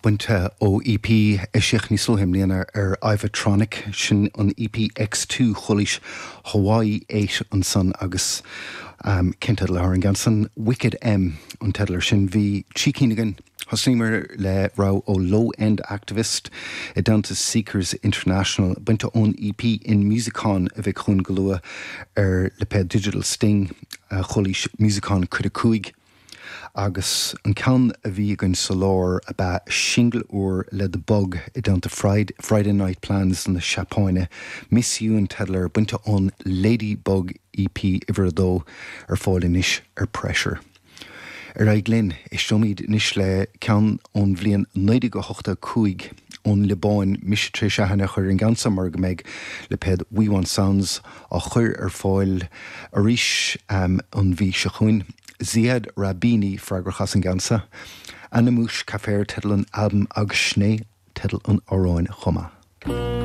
Bainte ó EP eisíodh níos luaithe i mbliana ar Ivotronic, sin an EP X2, chualaís Hawaii 8 ansan agus cén teideal atá ar an gceann san? Wicked M an teideal ar sin. Bhí trí cinn againn. Thosnaíomar le rogha ó Low End Activist i dteannta Seekers International, bainte ón EP In Musicon a bheidh chugainn go luath ar lipéad Digital Sting, chualaís Musicon Cuid 5. Agus an ceann a bhí againn sa lár ab ea singil úr le The Bug i dteannta Friday Night Plans na Seapáine, Miss You an teideal air, bainte ón Lady Bug EP uimhir a dó, ar fáil anois ar Pressure. Ar aghaidh linn, éisteoimid anois le ceann ón bhliain 1985 ón Liobáin, mise tar éis aithne a chur ar an gceann seo mar go mbeidh lipéad We Want Sounds á chur ar fáil arís an mhí seo chugainn. Ziad Rahbani freagrach as an gceann seo. Ana Mouch Kafer teideal an albaim agus sin é teideal an amhráin chomh maith.